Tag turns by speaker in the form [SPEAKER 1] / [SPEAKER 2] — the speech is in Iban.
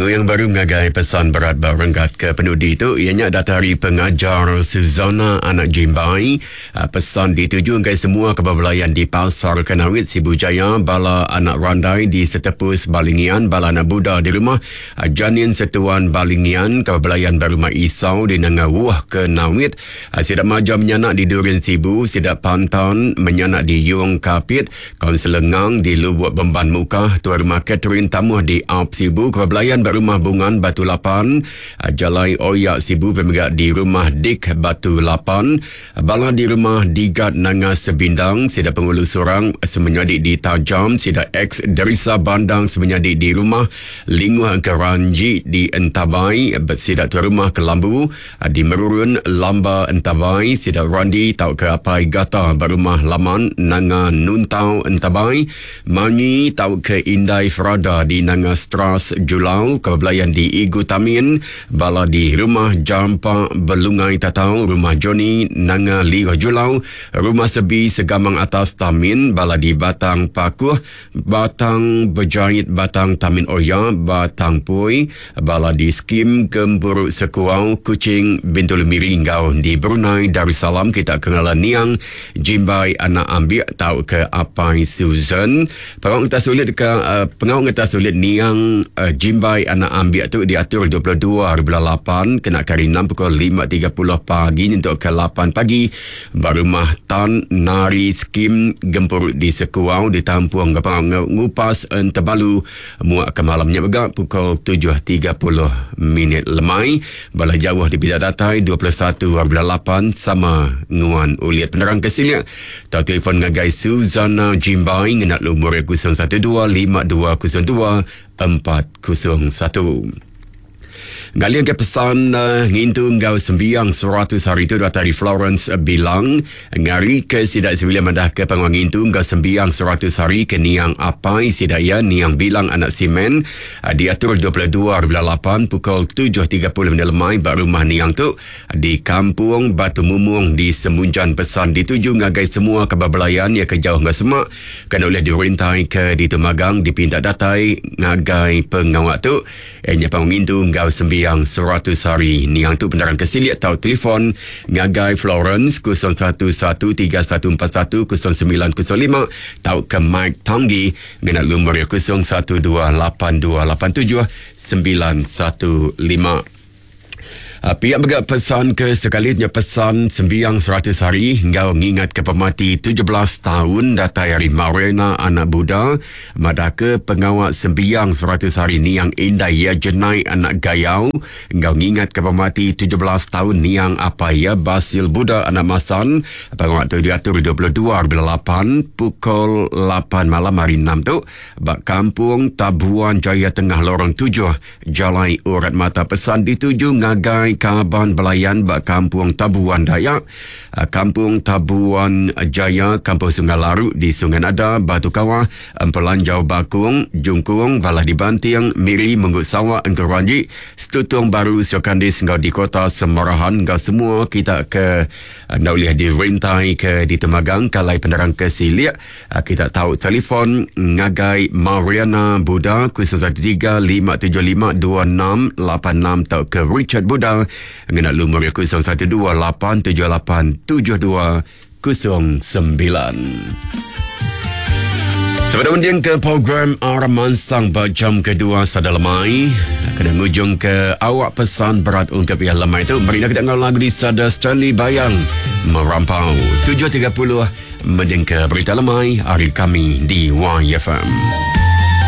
[SPEAKER 1] Nguyang baru ngagai pesan berat ba renggat ke penudi tu iya nya datai ari pengajar Suzana anak Jimbai. Ah, pesan dituju ngagai semua ke bebelayan di Pasar Kanawit, Sibu Jaya, bala anak Randai di Setepus Balingian, bala anak Buda di rumah ah, Janin Setuan Balingian ke bebelayan ba rumah Isau di Nanga Wuh Kanawit, ah, sida Maja Menyanak di Durin Sibu, sida Pantan Menyanak di Yong Kapit, Kaunselor Ngang di Lubuk Bemban Mukah, Tuai Rumah Catherine Tamuh di Aup Sibu, Kepala Belayan ba Rumah Bungan Batu Lapan, Jalai Oya Sibu pia mega di Rumah Dik Batu Lapan, bala di Rumah Digat Nanga Sebindang, sida Pengulu Surang semenyadi di Tajam, sida ex Derisa Bandang semenyadi di Rumah Linguh Engkeranji di Entabai, sida Tuai Rumah Kelambu Di Merurun, Lamba Entabai, sida Randi tauka Apai Gata ba Rumah Laman Nanga Nuntau Entabai, Manyi tauka Indai Frada di Nanga Stras Julau, ke bebelayan di Igu Tamin, bala di Rumah Jampa Belungai Tatau, Rumah Johnny Nanga Liuh Julau, Rumah Sebi Segamang Atas Tamin, bala di Batang Pakuh, Batang Bejait Batang Tamin Oya, Batang Pui, Bala di Skim Gempuru Sekuau, Kuching, Bintulu Miri enggau di Brunei Darussalam kita ke ngala niang Jimbai anak Ambik tauka Apai Susan. Pengawa ngetas ulit ka pengawa ngetas ulit niang Jimbai anak Ambik tu diatur 22 hari bulan lapan kena ke hari enam pukul 5.30 pagi nyentuk ke 8 pagi Ba rumah Tan Nari Skim Gempuru di Sekuau ditampung enggau pengawa ngupas Entebalu muak ke malam nya mega pukul 7.30 minit lemai. Bala jauh dipida datai 21 hari bulan lapan sama nguan ulit penerang ke silik tau telefon ngagai Suzana Jimbai ngena lumur 012 5202 401. Ngaling ke pesan uh, ngintu enggau sembiang 100 hari tu datai ari Florence Bilang ngari ke sida sebilik madah ke pengawa ngintu enggau sembiang 100 hari ke niang apai sida iya niang Bilang anak Simen uh, diatur 22 hari bulan 8 pukul 7.30 minit lemai ba rumah niang tu di Kampung Batu Mumung di Semunjan. Pesan dituju ngagai semua kaban belayan iya ke jauh enggau semak kena ulih dirintai ke ditu magang dipinta datai ngagai pengawa tu. Iya nya pengawa ngintu enggau sembiang 100 hari. Niang tu penerang ke silik tau telefon ngagai Florence 0113141095 tauka Mike Tanggi ngena lumur iya 0128287915. Ah, pia mega pesan ke sekali nya pesan sembiang 100 hari enggau ngingat ke pemati 17 tahun datai ari Marena anak Buda madah ke pengawa sembiang 100 hari niang indai iya Jenai anak Gayau enggau ngingat ke pemati 17 tahun niang apai iya Basil Buda anak Masan. Pengawa tu diatur 22 hari bulan 8 pukul 8 malam hari 6 tu ba Kampung Tabuan Jaya Tengah Lorong 7 Jalai Urat Mata pesan dituju ngagai kaban belayan ba Kampung Tabuan Dayak, Kampung Tabuan Jaya, Kampung Sungai Laru di Sungai Nada, Batu Kawah, Empelanjau Bakung, Jungkung, Balah di Banting, Miri, Munggu Sawa, Engku Ranji, Stutong Baru, Siokandis enggau di Kota Semarahan enggau semua kita ke enda ulih dirintai ke ditemagang kalai penerang ke silik. Ah, kita tahu telefon ngagai Mariana Buda 013 575 2686 atau ke Richard Buda ngena lumur 012 878 72 09. Sebelum mending ke program Armansang ba jam kedua sada lemai, kena ngujung ke awak pesan berat ungkap ia lemai tu. Mari kita ngau lagu di Sada Stanley Bayang Merampau 7.30 Mendingka berita lemai ari kami di YFM.